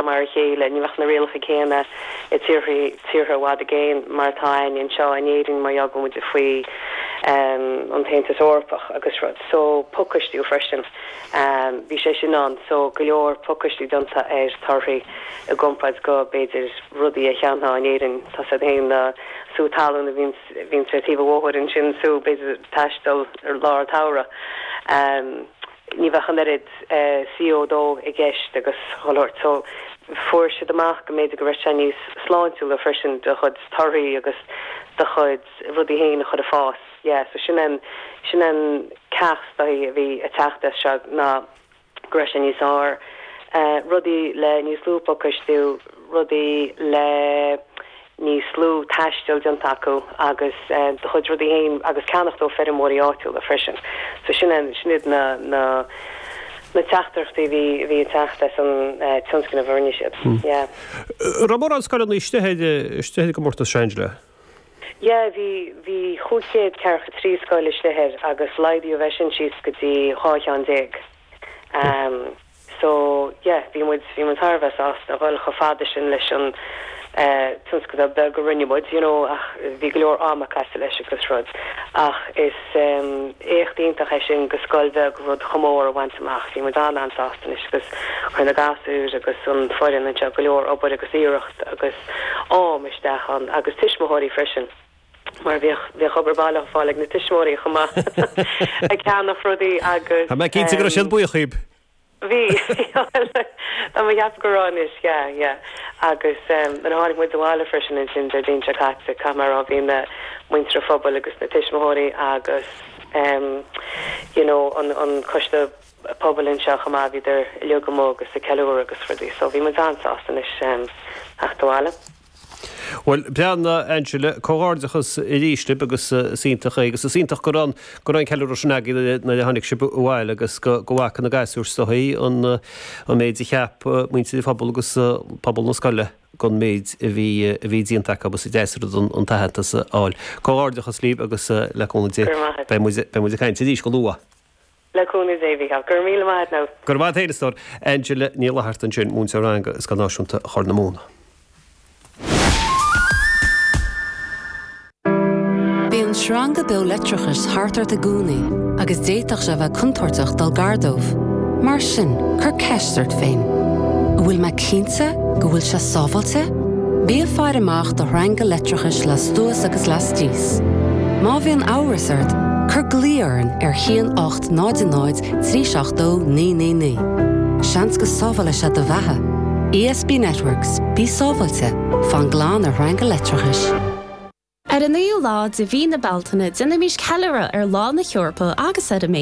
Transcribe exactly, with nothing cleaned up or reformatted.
mar a chéile, ní bheadh na rialacha céanna i tíortha tíortha i bhfad i gcéin mar atá ann anseo in Éirinn mar gheall go bhfuil muid faoi um, an tAontas Eorpach agus rud. So pacáistiú freisin. Um, bhí sé sin ann so go leor pacáistiú déanta ar torthaí i gcomparáid go b'fhéidir rudaí a cheannófá in Éirinn tá sé féin na sú talún a bhíonn bhíonn ar taobh an bhóthair ansin sú b'fhéidir taisteal ar lár tsamhraidh. Um, ní bheadh an oiread uh, CO dó i gceist agus cholóir so fuair siad amach go mb'fhéidir go raibh sé níos sláintiúla freisin do chuid torthaí agus do chuid rudaí féin a chur ag fás. Yeah, so sin an sin an ceacht a bhí ag teacht as seo ná go raibh sé níos fearr. Uh, rudaí le níos lú pacáistiú, rudaí le níos lú taistil déanta acu agus uh, do chuid rudaí féin agus ceannacht ó feirmeoirí áitiúla freisin. So sin an sin iad na na na teachtaireachtaí bhí bhí ag teacht as an uh, tionscnamh a rinne siad. Hmm. Yeah. Raibh mórán scoileanna istigh istigh i gcomórtas Angela. Yeah, bhí bhí cúig chéad ceathracha trí scoil istigh air agus laghdaíodh é sin síos go dtí dhá cheann déag. Um, so yeah, bhí muid bhí muid thar a bheith sásta a dhul chomh fada sin leis an uh, tionscadal beag a rinne muid, you know, ach bhí go leor ama caite leis agus rud. Ach is um, éacht iontach é sin go scoil bheag rud chomh mór a bhaint amach, bhí muid an-an-sásta anois agus chuir na gasúir agus an foireann anseo go leor obair agus iarracht agus am isteach ann agus tuismitheoirí freisin. Mar bhíodh bhíodh obair baile ar fáil ag na tuismitheoirí chomh maith ag ceannach rudaí agus Tá mé cinnte go raibh siad buíoch díbh. Bhí Tá mé ag ceapadh go raibh anois yeah, yeah. agus um, an tháinig muid abhaile freisin ansin Déardaoin seo caite caithfidh mé a rá bhí na muintir an phobail agus na tuismitheoirí agus um, you know, an, an coiste pobail anseo chomh maith bhíodar uilig amuigh agus ag ceiliúradh agus rudaí, so bhí muid an-sásta anois um, teacht abhaile. Well breá Angela comhghairdeachas arís libh agus is iontach é agus is iontach go raibh go raibh an ceiliúradh sin agaibh nuair a tháinig sibh abhaile agus go go bhfaca na gasúir sochaí an an méid a cheap muintir an phobail agus pobal na scoile gon méid a bhí a bhí déanta acu agus is deas an an t-aitheantas a fháil. Comhghairdeachas libh agus le cúnamh Dé Go raibh maith. beidh muid beidh muid ag caint arís go luath. Le cúnamh Dé bhí gur míle maith ná. Gur maith héastóir Angela Ní Fhlatharta ansin múinteoir ranga i Scoil Náisiúnta Chorr na Móna. Bíonn sreanga beo leictreachais thart ort i gcónaí agus d'fhéadfadh sé bheith contúirteach dul gar dóibh. Mar sin, cuir ceist ort féin. An bhfuil mé cinnte go bhfuil sé sábháilte? Bí ag faire amach do shreanga leictreachais lastuas agus lastíos. Má bhíonn amhras ort, cuir glao orainn ar haon ocht náid náid trí seacht dó naoi naoi naoi. Seans go sábhálfaidh sé do bheatha. ESB Networks, bí sábháilte, fan glan ar shreanga leictreachais. Ar an naoú lá de mhí na Bealtaine déanaimis ceiliúradh ar Lá na hEorpa agus ar a méid